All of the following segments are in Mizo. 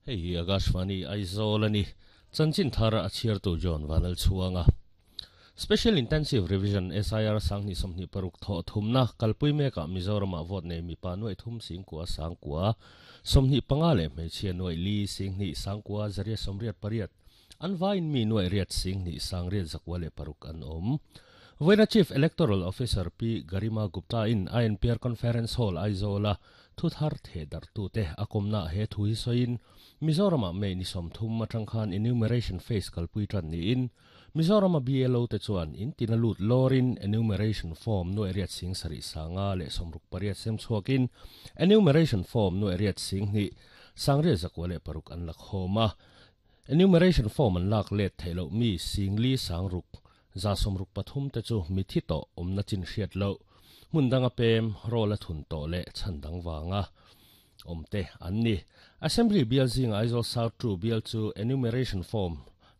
Hei hi Akashvani Aizawl a ni. Chanchin thar a chhiartu John Vanlalchhuanga. Special Intensive Revision, SIR, 2026 thawh thumna kalpui mekah Mizoramah vote nei mipa nuaih thum singkua sangkua 25 leh hmeichhia nuaih li singhnih sangkua zariat sawmriat pariat an vaiin mi nuaih riat singhnih sangriat zakua leh paruk an awm. Vawiina Chief Electoral Officer Pi Garima Gupta in INPR Conference Hall Aizawl-a Thu thar theh darhtute a kawmnaah he thu hi sawiin, Mizoramah May ni 30 atang khan enumeration phase kalpui tan niin, Mizorama BLO te chuan in tina lut lawrin enumeration form nuaih riat sing sarih sanga leh 68 sem chhuakin enumeration form nuaih riat sing hnih sangriat zakua leh paruk an la khawm a. Enumeration form an lak let theih loh mi sing li sang ruk 163 te chu mithi tawh awmna chin hriat loh, hmun danga pem, rawl a thun tawh leh chhan dang vanga awm te an ni. Assembly bial zinga Aizawl South 2 bial chu enumeration form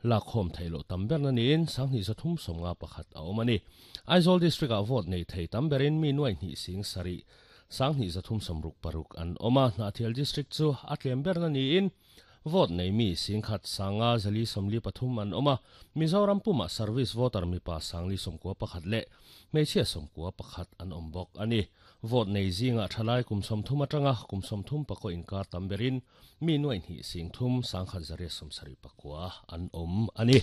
lak khawm theih loh tam berna niin 2351 a awm a ni. Aizawl District-ah vote nei thei tam berin mi nuaih hnih sing sarih 2366 an awm a, Hnahthial District chu a tlem berna niin Vote nei mi singkhat sanga zali 43 an awm a, Mizoram pumah service voter mipa sangli 91 leh hmeichhia 91 an awm bawk a ni. Vote nei zingah thalai kum 30 atanga kum 34 inkar tam berin mi nuaih hnih sing thum sangkhat zariat 79 an awm a ni.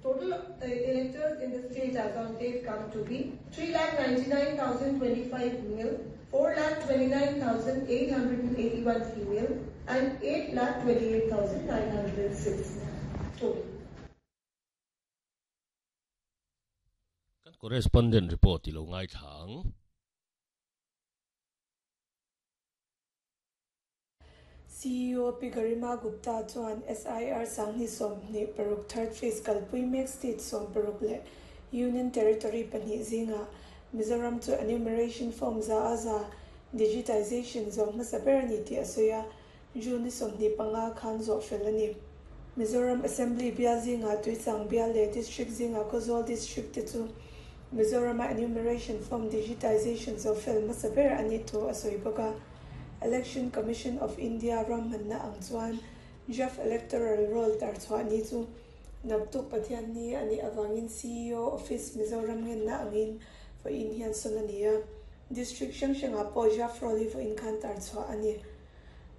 Total electors in the state as on date come to be 3,99,025 male, 4,29,881 female and 8,28,906 total. Kan correspondent report i lo ngaithla ang. CEO Pi Garima Gupta chuan SIR 2026 third phase kalpui mek state 16 leh Union Territory pahnih zingah Mizoram chu enumeration form za a za digitization zawh hmasa ber a ni tih a sawi a, June ni 25 khan zawh fel a ni. Mizoram Assembly bial zingah Tuichang bial leh District zingah Khawzawl District te chu Mizorama enumeration form digitization zawh fel hmasa ber a nih thu a sawi bawk a. Election Commission of India ruahmanna ang chuan Draft Electoral Roll tarchhuah ni chu naktuk Pathian ni a nih avangin CEO Office Mizoram ngenna angin vawiin hian sawn a ni a. District hrang hrangah pawh Draft Roll hi vawiin khan tarchhuah a ni.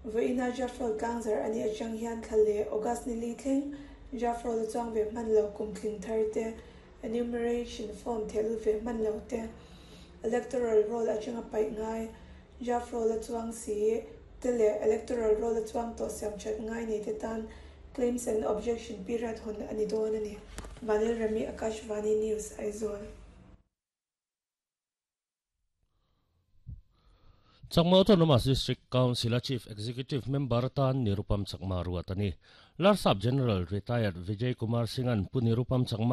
Vawiina Draft Roll tlangzar a nih atang hian thla leh August ni li thleng Draft Roll a chuang ve hman lo kum tling thar te, Enumeration Form thehlut ve hman lo te, Electoral Roll atanga paih ngai, Draft Roll a chuang si te leh Electoral Roll a chuang tawh siam that ngai nei te tan Claims and Objection period hawn a ni dawn a ni. Vanil Remi Akashvani News, Aizawl. Chakma Autonomous District Council-a Chief Executive Member atan Nirupam Chakma ruat a ni. Larsap General Retired Vijay Kumar Singh-a'n Pu Nirupam Chakma